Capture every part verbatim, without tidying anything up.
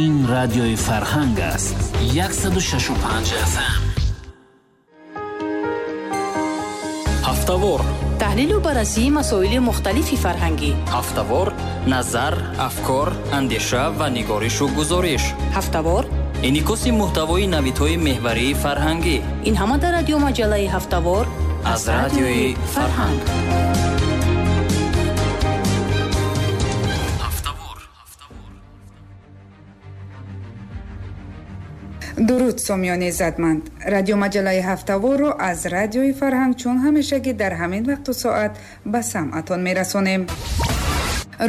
Ин радиои Фарҳанг аст. Яксаду шашу панҷ эф эм. Ҳафтавор. Таҳлилу баррасии масоили мухталифи фарҳангӣ. Ҳафтавор, назар, афкор, андеша ва нигоришу гузориш. Ҳафтавор. Инъикоси муҳтавои навидҳои меҳварии фарҳангӣ. Ин ҳама дар радиомаҷаллаи Ҳафтавор аз радиои Фарҳанг. Дуруд сомиёни иззатманд. Радиомаҷаллаи Ҳафтаворро аз радиои Фарҳанг чун ҳамешагӣ дар ҳамин вақту соат ба самъатон мерасонем.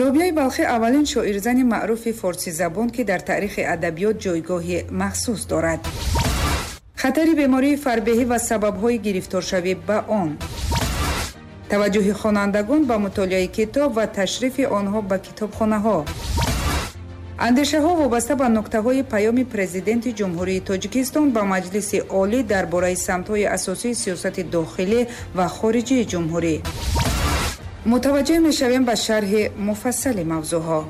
Робияи Балхӣ аввалин шоирзани маъруфи форсизабон, ки дар таърихи адабиёт ҷойгоҳи махсус дорад. Хатари бемории фарбеҳӣ ва сабабҳои гирифторшавӣ ба он. Таваҷҷӯҳи хонандагон ба мутолиаи китоб ва ташрифи онҳо ба китобхонаҳо. Андешаҳо вобаста ба нуктаҳои паёми президенти Ҷумҳурии Тоҷикистон ба Маҷлиси Олӣ дар бораи самтҳои асосии сиёсати дохилӣ ва хориҷии ҷумҳурӣ. Мутаваҷҷеҳ мешавем ба шарҳи муфассали мавзӯъҳо.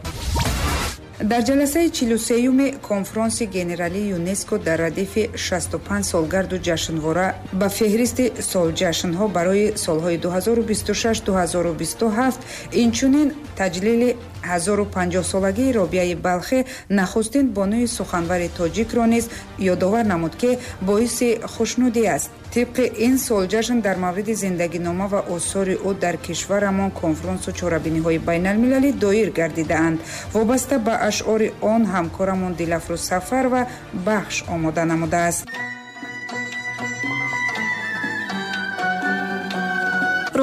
Дар ҷаласаи чилу сеюми конфронси генералии ЮНЕСКО дар радифи шасту панҷ солгарду ҷашнвора ба феҳристи солҷашнҳо барои солҳои ду ҳазору бисту шаш ду ҳазору бисту ҳафт, инчунин таҷлили ҳазору панҷоҳсолагии Робияи Балхӣ, нахустин бонуи суханвари тоҷикро низ ёдовар намуд, ки боиси хушнудӣ аст. Тибқи ин солҷашн дар мавриди зиндагинома ва осори ӯ дар кишварамон конфронсу чорабиниҳои байналмилалӣ доир гардидаанд. Вобаста ба ашъори он ҳамкорамон Дилафрӯз Сафарова бахш омода намудааст.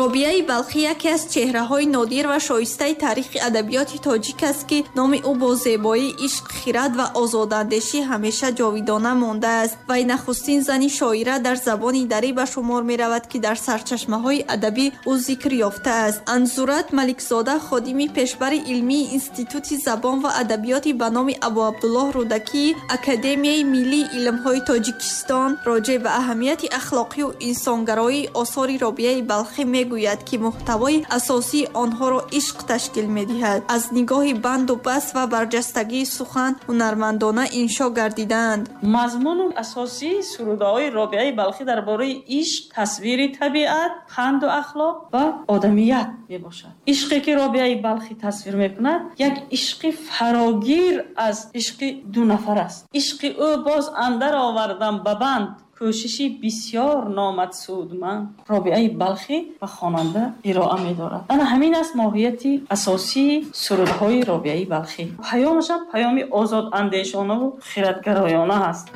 Робияи Балхӣ яке аз чеҳраҳои нодир ва шоистаи таърихи адабиёти тоҷик аст, ки номи ӯ бо зебоӣ, ишқ, хирад ва озодандешӣ ҳамеша ҷовидона мондааст. Вай нахустин зани шоира дар забони дарӣ ба шумор меравад, ки дар сарчашмаҳои адабӣ ӯ зикр ёфтааст. Анзурат Маликзода, ходими пешбари илмии Институти забон ва адабиёти ба номи Абуабдуллоҳ Рӯдакӣ, Академияи миллии илмҳои Тоҷикистон, роҷеъ ба аҳамияти ахлоқию инсонгароии осори Робияи Балхӣ мегӯяд, ки муҳтавои асосии онҳоро ишқ ташкил медиҳад. Аз нигоҳи банду баст ва барҷастагии сухан ҳунармандона иншо гардидаанд. Мазмуну асосии сурудаҳои Робияи Балхӣ дар бораи ишқ, тасвири табиат, панду ахлоқ ва одамият мебошад. Ишқе ки Робияи Балхӣ тасвир мекунад, як ишқи фарогир аз ишқи ду нафар аст. Ишқи ӯ боз андар овардам ба банд, кӯшиши бисёр номад судманд. Робияи Балхӣ ба хонанда ироа медорад. Ана ҳамин аст моҳияти асосии сурудҳои Робияи Балхӣ. Паёмашам паёми озодандешонаву хиратгароёна аст.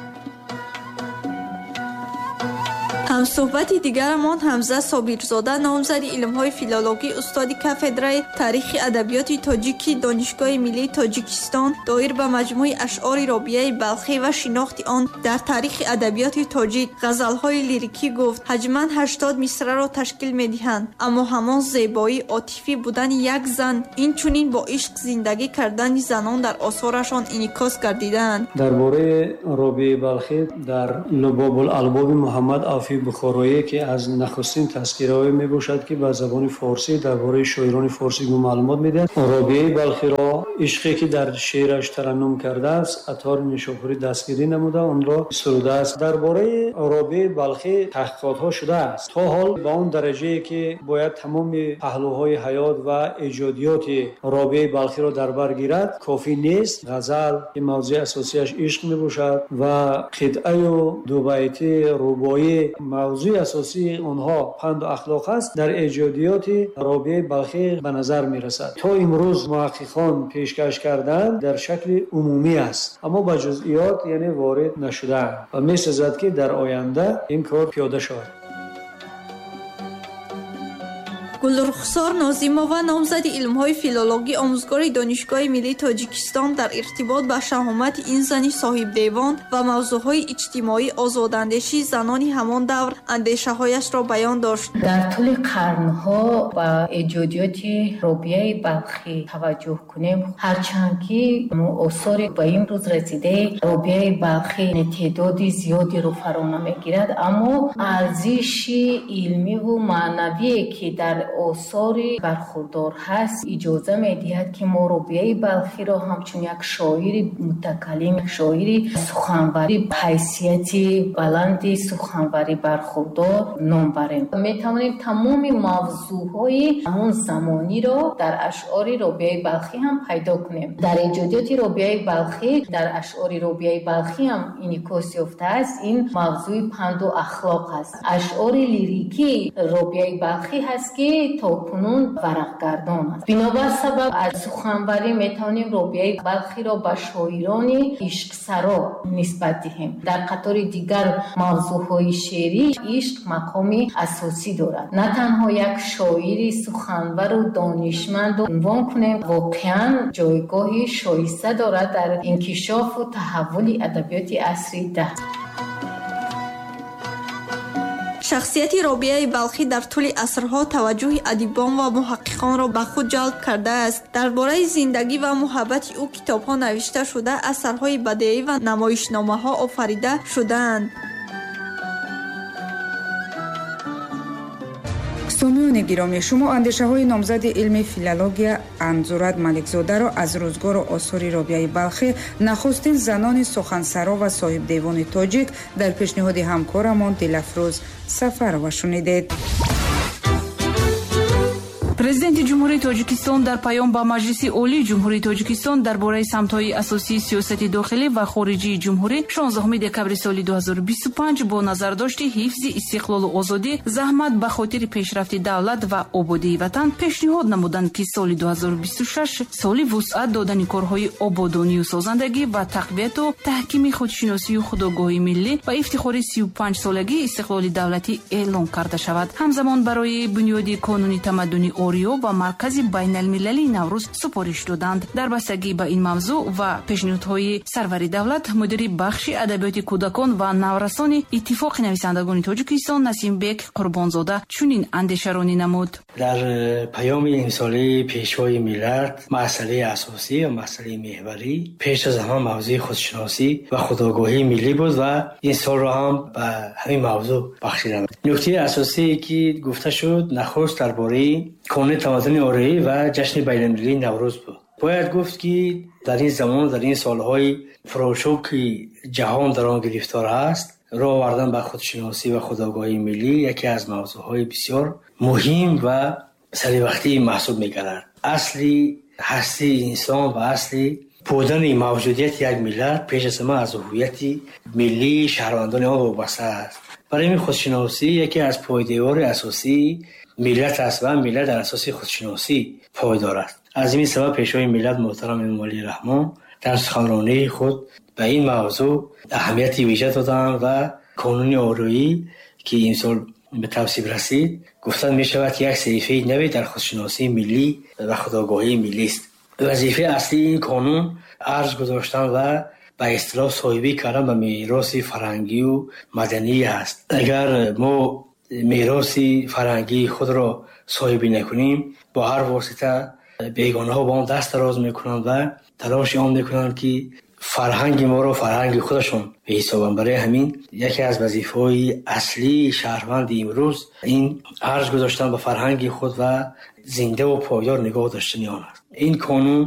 Ҳамсӯҳбати дигарамон Ҳамза Собирзода, номзади илмҳои филологӣ, устоди кафедраи таърихи адабиёти тоҷикӣ Донишгоҳи миллии Тоҷикистон, доир ба маҷмӯи ашъори Робияи Балхӣ ва шинохти он дар таърихи адабиёти тоҷик ғазалҳои лирикӣ гуфт. Ҳаҷман ҳаштод мисраро ташкил медиҳанд, аммо ҳамон зебоии отифӣ будани як зан, инчунин бо ишқ зиндагӣ кардани занон дар осорашон инъикос гардидаанд. Дар бораи Робияи Балхӣ дар Лубобул-албоби Муҳаммад Авфи Бухороӣ, ки аз нахустин тазкираҳое мебошад, ки ба забони форсӣ дар бораи шоирони форсӣ маълумот медиҳад, Робияи Балхиро ишқе ки дар шеъраш тараннум кардааст, Аттори Нишопурӣ дастгирӣ намуда онро сурудааст. Дар бораи Робияи Балхӣ таҳқиқотҳо шудааст. То ҳол ба он дараҷае ки бояд тамоми паҳлӯҳои ҳаёт ва эҷодиёти Робияи Балхиро дар бар гирад, кофӣ нест. Ғазал ки мавзӯи асосияш ишқ мебошад ва қитъаю дубайтӣ, рубоӣ мавзӯи асосии онҳо панду ахлоқ аст, дар эҷодиёти Робияи Балхӣ ба назар мерасад. То имрӯз муҳаққиқон пешкаш карданд дар шакли умумӣ аст, аммо ба ҷузъиёт яъне ворид нашудаанд ва месазад, ки дар оянда ин кор пиёда шавад. Гулрухсор Нозимова, номзади илмҳои филологӣ, омӯзгори Донишгоҳи миллии Тоҷикистон, дар иртибот ба шаҳомати ин зани соҳибдевон ва мавзӯъҳои иҷтимоии озодандешии занони ҳамон давр андешаҳояшро баён дошт. Дар тӯли қарнҳо ба эҷодиёти Робияи Балхӣ таваҷҷӯҳ кунем, ҳарчанд ки осори ба имрӯз расидаи Робияи Балхӣ теъдоди зиёдеро фаро намегирад, аммо арзиши илмиву маънавие ки дар осори бархурдор ҳаст, иҷоза медиҳад, ки мо Робиаи Балхиро ҳамчун як шоири мутакаллим, шоири суханварӣ, ҳайсияти баланди суханварӣ бархурдор ном барем. Метавонем тамоми мавзӯъҳои ҳамон замониро дар ашъори Робиаи Балхӣ ҳам пайдо кунем. Дар эҷодиёти Робиаи Балхӣ, дар ашъори Робиаи Балхӣ ҳам инъикос ёфтааст. Ин мавзӯи панду ахлоқ аст. Ашъори лирикии Робиаи Балхӣ ҳаст, ки то кунун варақгардон аст. Бинобар сабаб аз суханварӣ метавонем Робиаи Балхиро ба шоирони ишқсаро нисбат диҳем. Дар қатори дигар мавзӯъҳои шеърӣ ишқ мақоми асосӣ дорад. На танҳо як шоири суханвару донишманду унвон кунем, воқеан ҷойгоҳи шоиста дорад дар инкишофу таҳаввули адабиёти асри даҳ. Шахсияти Робиаи Балхӣ дар тӯли асрҳо таваҷҷӯҳи адибон ва муҳаққиқонро ба худ ҷалб кардааст. Дар бораи зиндагӣ ва муҳаббати ӯ китобҳо навишта шуда, асарҳои бадеӣ ва намоишномаҳо офарида шудаанд. Сомиёни гиромӣ, шумо андешаҳои номзади илми филология Анзурат Маликзодаро аз рӯзгору осори Робиаи Балхӣ, нахустин занони сухансаро ва соҳибдевони тоҷик, дар пешниҳоди ҳамкорамон Дилафрӯз Сафарова шунидед. Президенти Ҷумҳурии Тоҷикистон дар паём ба Маҷлиси Олии Ҷумҳурии Тоҷикистон дар бораи самтҳои асосии сиёсати дохилӣ ва хориҷии ҷумҳурӣ шонздаҳуми декабри соли ду ҳазору бисту панҷ бо назардошти ҳифзи истиқлолу озодӣ, заҳмат ба хотири пешрафти давлат ва ободии ватан пешниҳод намуданд, ки соли ду ҳазору бисту шаш соли вусъат додани корҳои ободонию созандагӣ ва тақвияту таҳкими худшиносию худогоҳии миллӣ ва ифтихори сию панҷ солагии истиқлоли давлатӣ эълон карда шавад. Ҳамзамон барои бунёди қонуни тамаддуни Ориё ва маркази байналмилалии Наврӯз супориш доданд. Дар бастагӣ ба ин мавзӯъ ва пешниҳодҳои сарвари давлат, мудири бахши адабиёти кӯдакон ва наврасони Иттифоқи нависандагони Тоҷикистон Насимбек Қурбонзода чунин андешаронӣ намуд. Дар паёми имсолаи Пешвои миллат масъалаи асосӣ ва масъалаи меҳварӣ пеш аз ҳама мавзӯи худшиносӣ ва худогоҳии миллӣ буд ва ин солро ҳам ба ҳамин мавзӯъ бахшиданд. Нуктаи асосие ки гуфта шуд, нахуст дар бораи қонуни тамаддуни ориёӣ ва ҷашни байналмилалии Наврӯз буд. Бояд гуфт, ки дар ин замон, дар ин солҳои пурошӯб, ки ҷаҳон дар он гирифтор аст, роҳ овардан ба худшиносӣ ва худогоҳии миллӣ яке аз мавзӯъҳои бисёр муҳим ва саривақтӣ маҳсуб мегардад. Асли ҳастии инсон ва асли будани мавҷудияти як миллат пеш аз ҳама аз ҳувияти миллии шаҳрвандони он вобаста аст. Барои ин худшиносӣ яке аз пойдевори асосии миллат аст ва миллат дар асоси худшиносӣ пойдор аст. Аз ин сабаб Пешвои миллат муҳтарам Эмомалӣ Раҳмон дар суханронии худ ба ин мавзӯъ аҳамияти вижа доданд ва қонуни ориёӣ, ки имсол ба тавсиб расид, гуфта мешавад, ки як саҳифаи наве дар худшиносии миллӣ ва худогоҳии миллист. Вазифаи аслии ин қонун арз гузоштан ва ба истилоҳ соҳибӣ кардан ба мероси фарҳангию маданӣ аст. Агар мо мероси фарҳангии худро соҳибӣ накунем, бо ҳар восита бегонаҳо ба он даст дароз мекунанд ва талоши он мекунанд, ки фарҳанги моро фарҳанги худашон беҳисобанд. Барои ҳамин яке аз вазифаҳои аслии шаҳрванди имрӯз ин арз гузоштан ба фарҳанги худ ва зиндаву пойдор нигоҳ доштани он аст. Ин қонун